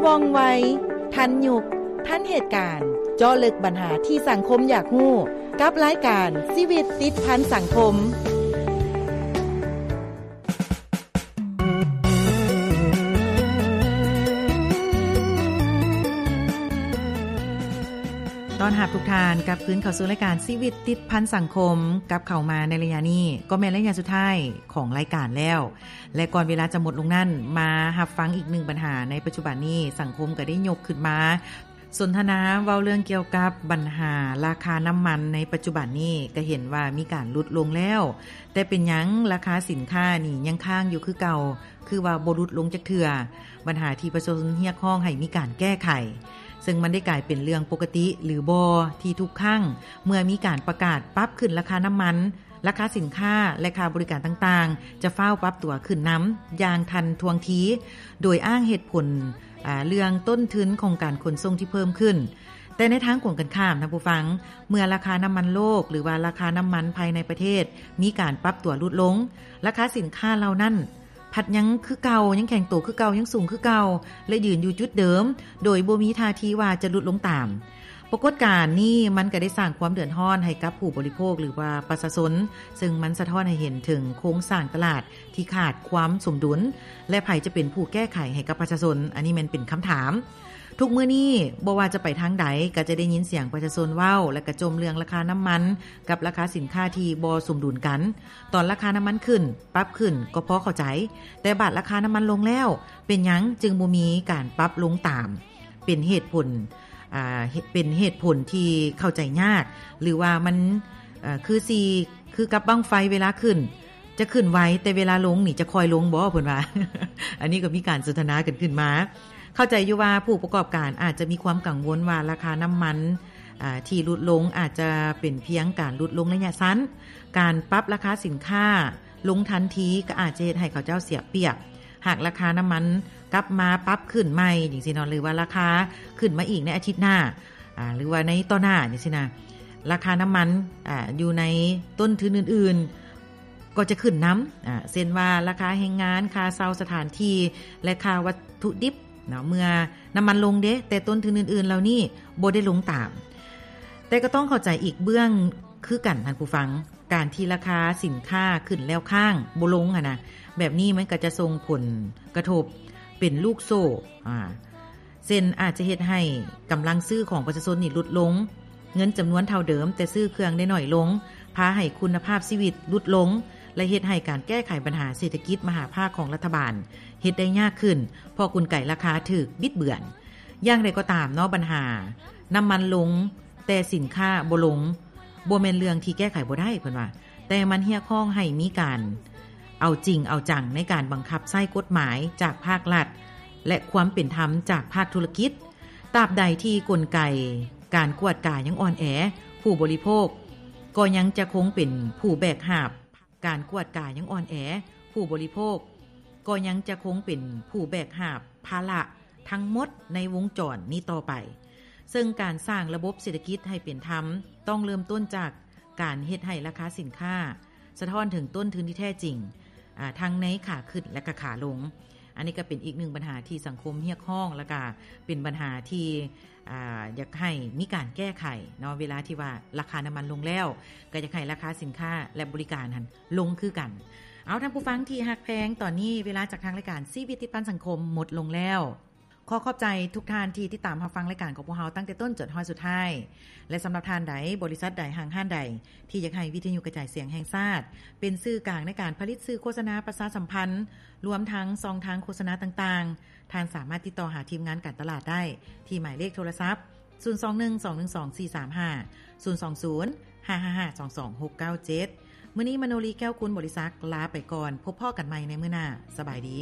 ວ່ອງໄວ, ທັນຍຸກ, ທັນເຫດການ, ເຈາະເລິກບັນຫາທີ່ສັງຄົມຢາກຮູ້ ກັບລາຍການຊີວິດຕິດພັນສັງຄົມ. ຕ້ອນຮັບທຸກທ່ານກັບຄືນເຂົ້າສູ່ລາຍການຊີວິດຕິດພັນສັງຄົມ. ກັບເຂົ້າມາໃນໄລຍະນີ້ ກໍແມ່ນໄລຍະສຸດທ້າຍຂອງລາຍການແລ້ວ ແລະ ກ່ອນເວລາຈະໝົດລົງນັ້ນ, ມາຮັບຟັງອີກໜຶ່ງບັນຫາໃນປັດຈຸບັນນີ້ ສັງຄົມກໍໄດ້ຍົກຂຶ້ນມາ ສົນທະນາເວົ້າເລື່ອງກ່ຽວກັບບັນຫາລາຄານ້ຳມັນໃນປັດຈຸບັນນີ້ ກໍເຫັນວ່າມີການຫຼຸດລົງແລ້ວ, ແຕ່ເປັນຫຍັງລາຄາສິນຄ້ານີ້ຍັງຄ້າງຢູ່ຄືເກົ່າ, ຄືວ່າບໍ່ຫຼຸດລົງຈັກເທື່ອ? ບັນຫາທີ່ປະຊາຊົນຮຽກຮ້ອງໃຫ້ມີການແກ້ໄຂ, ເຊິ່ງມັນໄດ້ກາຍເປັນເລື່ອງປົກກະຕິຫຼືບໍ່ ທີ່ທຸກຄັ້ງເມື່ອມີການປະກາດປັບຂຶ້ນລາຄານ້ຳມັນ, ລາຄາສິນຄ້າ ແລະ ຄ່າບໍລິການຕ່າງໆ ຈະຟ້າວປັບຕົວຂຶ້ນນຳຢ່າງທັນທ່ວງທີ ໂດຍອ້າງເຫດຜົນ ອາ ເລື່ອງຕົ້ນທຶນຂອງການຂົນສົ່ງທີ່ເພີ່ມຂຶ້ນ. ແຕ່ໃນທາງກົງກັນຂ້າມ, ທ່ານຜູ້ຟັງ, ເມື່ອລາຄານ້ຳມັນໂລກ ຫຼືວ່າລາຄານ້ຳມັນພາຍໃນປະເທດ ມີການປັບຕົວຫຼຸດລົງ, ລາຄາສິນຄ້າເຫຼົ່ານັ້ນ ພັດຍັງຄືເກົ່າ, ຍັງແຂງໂຕຄືເກົ່າ, ຍັງສູງຄືເກົ່າ ແລະ ຢືນຢູ່ຈຸດເດີມ ໂດຍບໍ່ມີທ່າທີວ່າຈະຫຼຸດລົງຕາມ. ປາກົດການນີ້ມັນກໍໄດ້ສ້າງຄວາມເດືອດຮ້ອນໃຫ້ກັບຜູ້ບໍລິໂພກ ຫຼືວ່າປະຊາຊົນ, ເຊິ່ງມັນສະທ້ອນໃຫ້ເຫັນເຖິງໂຄງສ້າງຕະຫຼາດທີ່ຂາດຄວາມສົມດຸນ ແລະ ໃຜຈະເປັນຜູ້ແກ້ໄຂໃຫ້ກັບປະຊາຊົນ? ອັນນີ້ແມ່ນເປັນຄຳຖາມ. ທຸກມື້ນີ້ບໍ່ວ່າຈະໄປທາງໃດ ກໍຈະໄດ້ຍິນສຽງປະຊາຊົນເວົ້າ ແລະ ກະຈົ່ມເລື່ອງລາຄານ້ຳມັນກັບລາຄາສິນຄ້າທີ່ບໍ່ສົມດຸນກັນ. ຕອນລາຄານ້ຳມັນຂຶ້ນ, ປັບຂຶ້ນກໍພໍເຂົ້າໃຈ, ແຕ່ບາດລາຄານ້ຳມັນລົງແລ້ວ, ເປັນຫຍັງຈຶ່ງບໍ່ມີການປັບລົງຕາມ? ເປັນເຫດຜົນ, ອາ, ເຫ- ເປັນເຫດຜົນທີ່ເຂົ້າໃຈຍາກ ຫຼືວ່າມັນ, ເອີ, ຄືຊິ ຄືກັບບັ້ງໄຟເວລາຂຶ້ນ ຈະຂຶ້ນໄວ ແຕ່ເວລາລົງນີ້ຈະຄ່ອຍລົງບໍ? ເພິ່ນວ່າ. ອັນນີ້ກໍມີການສົນທະນາກັນຂຶ້ນມາ. ເຂົ້າໃຈຢູ່ວ່າຜູ້ປະກອບການອາດຈະມີຄວາມກັງວົນວ່າລາຄານ້ຳມັນ, ອາ, ທີ່ຫຼຸດລົງອາດຈະເປັນພຽງການຫຼຸດລົງໄລຍະສັ້ນ. ການປັບລາຄາສິນຄ້າລົງທັນທີກໍອາດຈະເຮັດໃຫ້ເຂົາເຈົ້າເສຍປຽບ. ຫາກລາຄານ້ຳມັນກັບມາປັບຂຶ້ນໃໝ່ຈັ່ງຊີ້ເນາະ ຫຼືວ່າລາຄາຂຶ້ນມາອີກໃນອາທິດໜ້າ ອາ ຫຼືວ່າໃນຕໍ່ໜ້າຈັ່ງຊີ້ນະ ລາຄານ້ຳມັນ ອາ ຢູ່ໃນຕົ້ນທຶນອື່ນໆ ກໍຈະຂຶ້ນນຳ ອາ ເຊັ່ນວ່າລາຄາແຮງງານ, ຄ່າເຊົ່າສະຖານທີ່ ແລະ ຄ່າວັດຖຸດິບເນາະ ເມື່ອນ້ຳມັນລົງເດ້ ແຕ່ຕົ້ນທຶນອື່ນໆເຫຼົ່ານີ້ບໍ່ໄດ້ລົງຕາມ. ແຕ່ກໍຕ້ອງເຂົ້າໃຈອີກເບື້ອງຄືກັນ ທ່ານຜູ້ຟັງ, ການທີ່ລາຄາສິນຄ້າຂຶ້ນແລ້ວຄ້າງບໍ່ລົງຫັ້ນນະ, ແບບນີ້ມັນກໍຈະສົ່ງຜົນກະທົບເປັນລູກໂສ້ ອາ ເຊັ່ນ ອາດຈະເຮັດໃຫ້ກຳລັງຊື້ຂອງປະຊາຊົນນີ້ຫຼຸດລົງ, ເງິນຈຳນວນເທົ່າເດີມ ແຕ່ຊື້ເຄື່ອງໄດ້ໜ້ອຍລົງ, ພາໃຫ້ຄຸນນະພາບຊີວິດຫຼຸດລົງ ແລະ ເຮັດໃຫ້ການແກ້ໄຂບັນຫາເສດຖະກິດມະຫາພາກຂອງລັດຖະບານເຮັດໄດ້ຍາກຂຶ້ນ ເພາະກົນໄກລາຄາຖືກບິດເບືອນ. ຢ່າງໃດກໍຕາມເນາະ, ບັນຫານ້ຳມັນລົງ ແຕ່ສິນຄ້າບໍ່ລົງ ບໍ່ແມ່ນເລື່ອງທີ່ແກ້ໄຂບໍ່ໄດ້ ເພິ່ນວ່າ, ແຕ່ມັນຮຽກຮ້ອງໃຫ້ມີການເອົາຈິງເອົາຈັງໃນການບັງຄັບໃຊ້ກົດໝາຍຈາກພາກລັດ ແລະ ຄວາມເປັນທຳຈາກພາກທຸລະກິດ. ຕາບໃດທີ່ກົນໄກການກວດກາຍັງອ່ອນແອ, ຜູ້ບໍລິໂພກກໍຍັງຈະຄົງເປັນຜູ້ແບກຫາບ ການກວດກາຍັງອ່ອນແອ, ຜູ້ບໍລິໂພກກໍຍັງຈະຄົງເປັນຜູ້ແບກຫາບພາລະທັງໝົດໃນວົງຈອນນີ້ຕໍ່ໄປ. ເຊິ່ງການສ້າງລະບົບເສດຖະກິດໃຫ້ເປັນທຳ ຕ້ອງເລີ່ມຕົ້ນຈາກການເຮັດໃຫ້ລາຄາສິນຄ້າສະທ້ອນເຖິງຕົ້ນທຶນທີ່ແທ້ຈິງ, ອາ, ທັງໃນຂາຂຶ້ນ ແລະ ກະຂາລົງ. ອັນນີ້ກໍເປັນອີກໜຶ່ງບັນຫາທີ່ສັງຄົມຮຽກຮ້ອງ ແລ້ວກໍເປັນບັນຫາທີ່ ອາ ຢາກໃຫ້ມີການແກ້ໄຂເນາະ ເວລາທີ່ວ່າລາຄານ້ຳມັນລົງແລ້ວ ກໍຢາກໃຫ້ລາຄາສິນຄ້າ ແລະ ບໍລິການຫັ້ນລົງຄືກັນ. ເອົາ ທ່ານຜູ້ຟັງທີ່ຮັກແພງ, ຕອນນີ້ເວລາຈາກທາງລາຍການຊີວິດຕິດພັນສັງຄົມໝົດລົງແລ້ວ. ຂໍຂອບໃຈທຸກທ່ານທີ່ຕິດຕາມຮັບຟັງລາຍການຂອງພວກເຮົາຕັ້ງແຕ່ຕົ້ນຈົນຮອດສຸດທ້າຍ ແລະ ສຳລັບທ່ານໃດ, ບໍລິສັດໃດ, ຫ້າງຮ້ານໃດ ທີ່ຢາກໃຫ້ວິທະຍຸກະຈາຍສຽງແຫ່ງຊາດເປັນສື່ກາງໃນການຜະລິດສື່ໂຄສະນາປະຊາສຳພັນ ລວມທັງຊ່ອງທາງໂຄສະນາຕ່າງໆ, ທ່ານສາມາດຕິດຕໍ່ຫາທີມງານການຕະຫຼາດໄດ້ທີ່ໝາຍເລກໂທລະສັບ ສູນສອງໜຶ່ງ ສອງໜຶ່ງສອງ ສີ່ສາມຫ້າ, ສູນສອງສູນ ຫ້າຫ້າຫ້າ ສອງສອງຫົກເກົ້າເຈັດ. ມື້ນີ້ ມະໂນລີ ແກ້ວກຸນ ບໍລິສັກ ລາໄປກ່ອນ. ພົບພໍ້ກັນໃໝ່ໃນມື້ໜ້າ. ສະບາຍດີ.